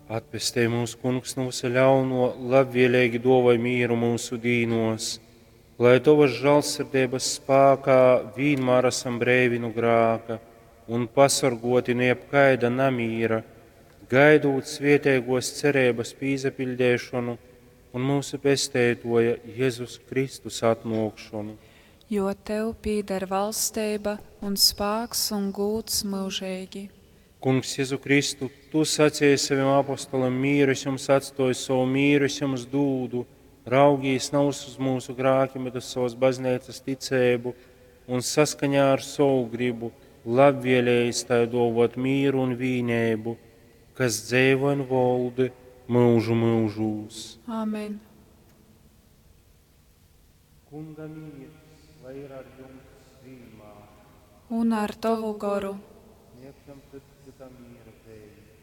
Atpestej mūs, Kungs, nu vysa ļauno, labvēlīgi dōvoj mīru myusu dīnos, lai Tovas žālsirdeibas spākā vīnmār esam breivi nu grāka un pasorgoti nu jebkaida namīra, gaidūt svētīgos cerības pīsapiļdēšonu un myusu Pesteitoja Jezus Kristus atnōkšonu. Jo Tev pīdar valsteiba un spāks un gūds myužeigi. Kungs Jezu Kristu, Tu saceji sovim apostolim, mīru es jums atstōju, sovu mīru es jums dūdu, raugīs navys uz mūsu grākim, bet uz savas bazneicas ticēbu un saskaņā ar sovu gribu labvēlējis tai dōvot mīru un vīneibu, kas dzeivo un voldi mūžu mūžūs. Āmen. Kunga mīrs, lai ir ar jums vienmēr. Un ar Tavu goru. Sniegsim cits citam miera zeimi.